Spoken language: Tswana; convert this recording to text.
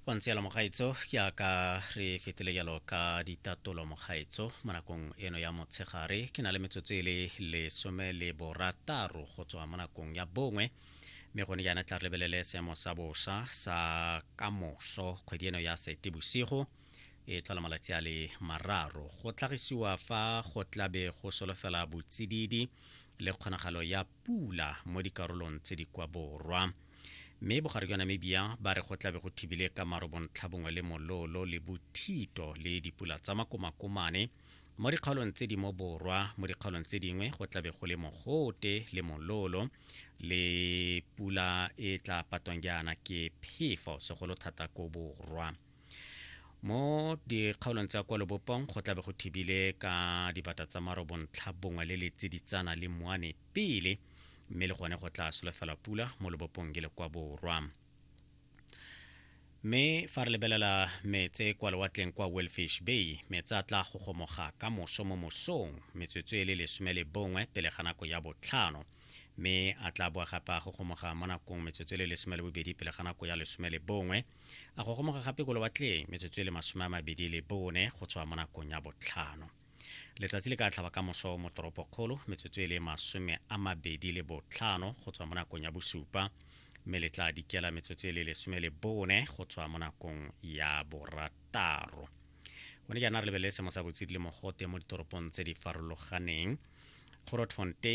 Go ntse jalo mogaetso, jaaka re fetile jalo ka ditatolo mogaetso mo nakong eno ya motshegare, ke na le metsotso e le 16 go tswa mo nakong ya 1, mme gone jaana tla re lebelele seemo sa bosa sa kamoso kgwedi eno ya Seetebosigo e tlhola malatsi a le 3. Go tlhagisiwa fa go tlabe go solofela botsididi le kgonagalo ya pula mo dikarolong tse di kwa borwa. Mme bogare jwa Namibia ba re go tlabe go thibile ka maro bontlhabongwe le mololo le bothito le dipula tsa makomakomane mo dikgaolong tse di mo borwa. Mo dikgaolong tse dingwe go tlabe go le mogote le mololo le pula e tla patwang jaana ke phefo, segolo thata ko borwa. Mo dikgaolong tsa kwa lobopong go tlabe go thibile ka dibata tsa maro bontlhabongwe le letsiditsana le moane pele, mme le gone go tla solofela pula mo lobopong ke le kwa borwa. Mme fa re lebelela metse kwa lewatleng kwa Wellfish Bay, metsi a tla gogomoga ka moso mo mosong metsotso e le 11 pele ga nako ya 5, mme a tla boa gape a gogomoga mo nakong metsotso e le 12 pele ga nako ya 11, a gogomoga gape ko lewatleng metsotso e le 24 go tswa mo nakong ya 5. Letsatsi le ka tlhaba ka moso mo toropokgolo metsotso e le 25 go tswa mo nakong ya 7, mme le tla dikela metsotso e le 14 go tswa mo nakong ya 6. Gone jaana re lebelele seemo sa botsididi le mogote mo ditoropong tse di farologaneng. Grootfontein.